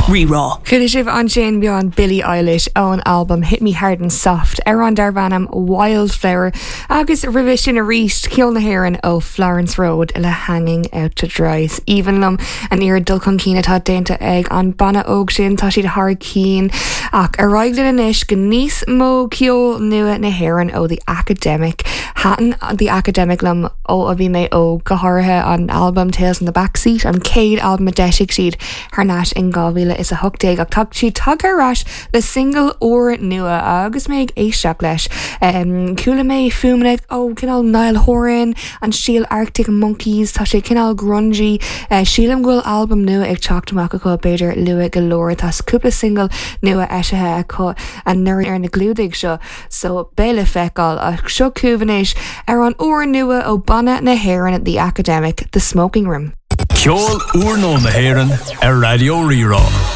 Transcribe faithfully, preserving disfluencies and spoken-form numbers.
Rí-Rá. Chuala sibh ansin bean Billie Eilish ón albam Hit Me Hard and Soft ar an darb ainm Wildflower agus roimhe sin arís ceol na hÉireann ó Florence Road le Hanging Out to Dry. Is aoibhinn liom an oiread dul chun cinn atá déanta ag an banna óg sin tá siad thar cinn ach ar aghaidh linn anois go níos mó ceol nua na hÉireann ó The Academic. Thaitin The Academic liom ó a bhí mé óg go háirithe an album Tales in the Backseat an chéad album a d'eisigh siad thar n-ais in dhá mhíle is a hocht déag ach tá siad tagtha ar ais le single úr nua agus mé ag éisteacht leis. Um, Chuala mé fuaimeanna ó cineál Niall Horan, an stíl Arctic Monkeys, tá sé cineál grungy, uh, sílim go bhfuil album nua ag teacht amach acu b'fhéidir luath go leor tá cúpla single nua eisithe acu anuraidh ar na clúdaigh seo, so beidh le feiceáil ach seo chugaibh anois ar an úr nua ó banna na hÉireann The Academic, The Smoking Room. Ceol úrnua na hÉireann ar Raidió Rí-Rá.